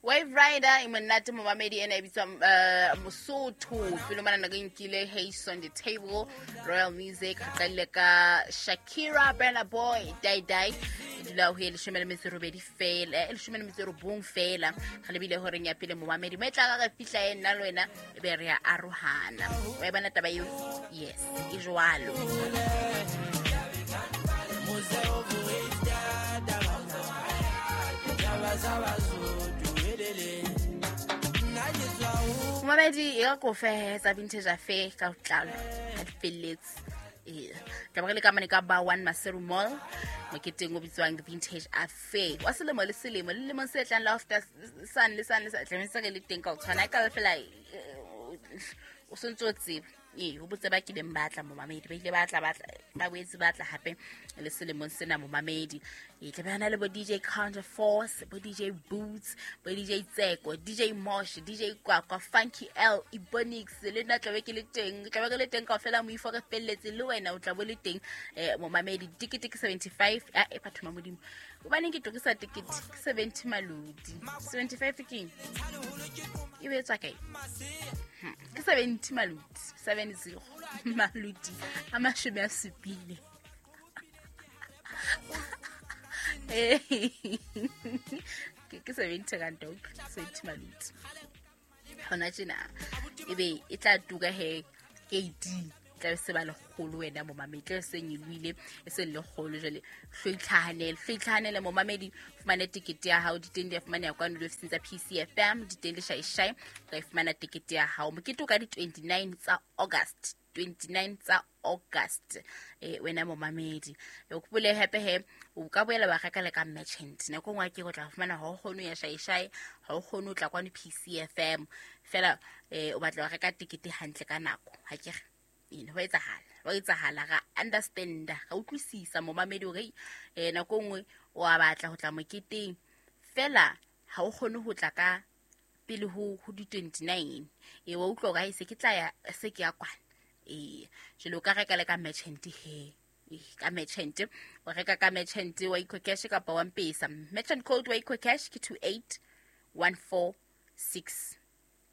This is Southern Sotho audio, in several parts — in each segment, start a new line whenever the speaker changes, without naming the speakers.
Wave Rider e monate momamedi ena e bitswa Mosotho pele mona nako e nkile Haze on the Table Royal Music re qalile ka Shakira Burna Boy Die Die e dula ho e 18 fela e 19 fela re lebile horeng ya pele momamedi mo e tla re fihla e nna le wena e be re ya arohana wa e bona taba eo yes e jwalo. Momamedi e ka kofe tsa Vintage Affair ka botlalo ha di felletse. Ee, tla re le ka mane ka ba One Maseru Mall moketeng o bitswang Vintage Affair wa selemo le selemo le lemong se tlang la after san le san le sa tlametse re le teng ka ho tshwana e ka ba fela o sontse o tseba. Ee, ho botse ba kileng ba tla momamedi ba ile ba tla ba tla ba boetse ba tla hape le selemong sena momamedi. E tla be na le bo DJ Counter Force, bo DJ Boots, bo DJ Tseko, DJ Mosh, DJ Kwakwa, Funky L, Ebonix le nna tlabe ke le teng, tlabe ke le teng kaofela moifo re felletse le wena o tla bo le teng momamedi. Tikete ke 75 a e batho ba Modimo hobaneng ke tokisa tikete ke 70 malodi 75 ke eng e be tswa kae? Ke 70 malodi 70 malodi a 70. Ke 70 rand ok 70 malodi hona tjena ebe e tla tuka he 18 tla se ba lekgolo wena momamedi tla se nyelohile e se lekgolo jwale hlo itlhahanele momamedi fumane tekete ya hao diteng di a fumaneha kwano diofising tsa PCFM diteng le shaishai o ka e fumana tekete ya hao mokete o ka di-29 tsa August 29 tsa August wena momamedi o kopole hape he o ka boela wa reka le ka merchant nako nngwe ke go tla fumana ha o kgone ho ya shaishai ha o kgone ho tla kwano PCFM fela o batla ho reka tekete hantle ka nako ha ke re ene ho etsahala ra understanda ra utlwisisa momamedi hore nako nngwe o a batla ho tla moketeng fela ha o kgone ho tla ka pele ho di-29 e wa utlwa hore se ke tla ya se ke ya kwana jwale o ka reka le ka merchant he ka merchant o reka ka merchant wa EcoCash kapa wa Mpesa merchant code wa EcoCash ke 28146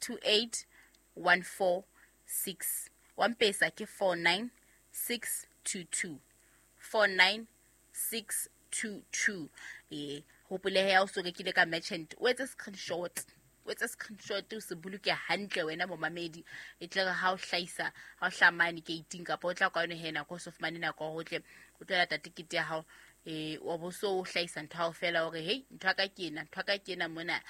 28146 wa Mpesa ke 49622 49622. Hopole ha o so rekile ka merchant o etse screenshot o se boloke hantle wena momamedi e tle re ha o hlahisa ha o hlamane gate kapa o tla kwano he nako o so fumane nako ho tle o tlo lata tikete ya hao wa bo so o hlahisa ntho hao fela hore hey ntho ya ka ke ena ntho ya ka ke ena mona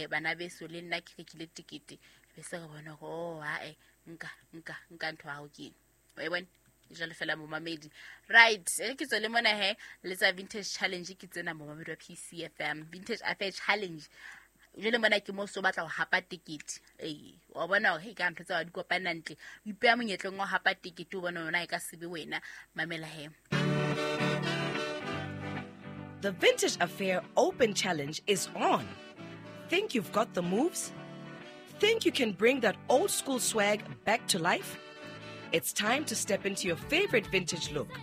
bana beso le nna ke rekile tikete be se re bona hore oh hae nka ntho ya hao ke ena wa e bona jwale fela momamedi right e ke tswele mona he le tsa Vintage Challenge ke tsena momamedi wa PCFM Vintage Affair Challenge jwale mona ke mo so batla ho hapa tekete wa bona hore hey ka ntho tsa wa di kopana ntle o ipeha monyetleng wa hapa tekete o bona yona e ka sebe wena mamela he.
The Vintage Affair Open Challenge is on. Think you've got the moves? Think you can bring that old school swag back to life? It's time to step into your favorite vintage look.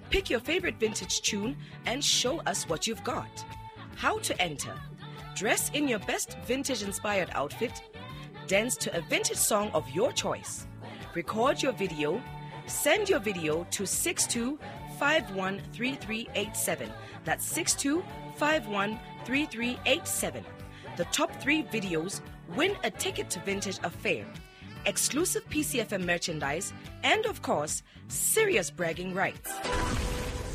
Pick your favorite vintage tune and show us what you've got. How to enter? Dress in your best vintage-inspired outfit. Dance to a vintage song of your choice. Record your video. Send your video to 62513387. That's 62513387. The top 3 videos win a ticket to Vintage Affair, exclusive PCFM merchandise, and of course, serious bragging rights.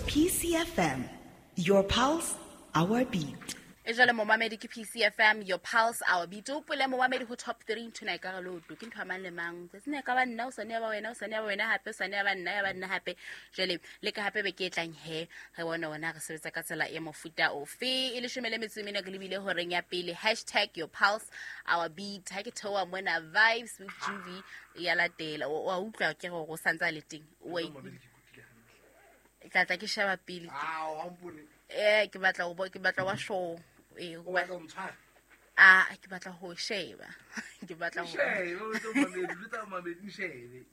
PCFM, your pulse, our beat.
E jwale momamedi ke PCFM, your pulse, our beat. O pole momamedi ho top 3 ntho ena e ka re loto ke ntho ya mang le mang. Tsatsi ne ka ba nna o sane ya ba wena o sane ya ba wena hape o sane ya ba nna ya ba nna hape. Jwale le ka hape be ke e tlang he re bone ona re sebetsa ka tsela e mofuta ofe. E 14 ke lebile horeng ya pele hashtag your pulse our beat. Ha ke theoha mona vibes with Juvie ya latela. O utlwa ke gore o santsa le teng. O tla ke sheba pele. Ke batla ho ke batla wa show.
O batla ho ntshwara?
Ke batla ho sheba. Ke batla ho
sheba, o tlo mamedi, o tla mamedi, shebe.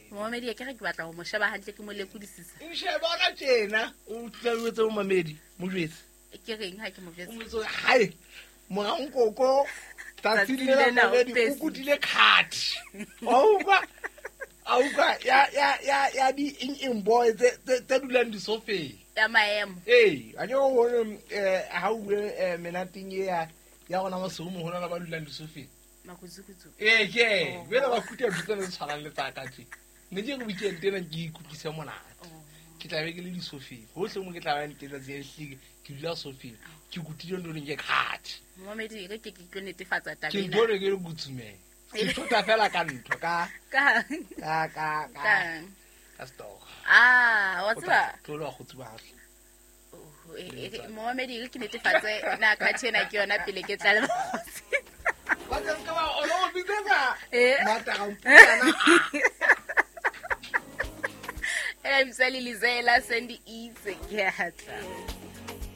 Momamedi ke re ke batla ho mo sheba hantle ke mo lekodisisa.
Sheba ona tjena, o tla o etse momamedi, mo jwetse.
Ke reng ha ke mo jwetse?
O mo jwetse, hae. Morankoko tsatsing
Tsatsing
lena
lena o
mamedi o
pesitse.
kutile kgathi. Wa utlwa? A utlwa ya di eng eng boy tse dulang disofeng.
Ya maemo.
Ee, a ke o bone ha o bue menateng e ya rona masigo moholo ba dulang disofeng.
Makutsukutsu.
Ee, ke jwale ba kuta ntho tsena tse tshwanang le tsa ka tje. Ne ke re weekend ena ke ikutlwise monate. Ke tla be ke le disofeng. Hohle mo ke tla bang teng tsatsi le hlile ke dula sofeng. Ke kutile ntho ke kgathi.
Momamedi e re ke tlo netefatsa taba
Ke
ena.
ntho ke le kutsumeng. Ke thota fela ka ntho ka
Ka
ka ka ka
ka
ka stock.
ah, wa tseba.
Tlo le wa kgotsi ba hle.
Oh, momamedi e re ke netefatse na khathi ena ke yona pele ke tla le bakgotsi.
Ba tla ska ba o lo bitsetsa.
Eh.
Mata ga mpana.
Ena bitsa Lilizela Sandy itse ke a tla.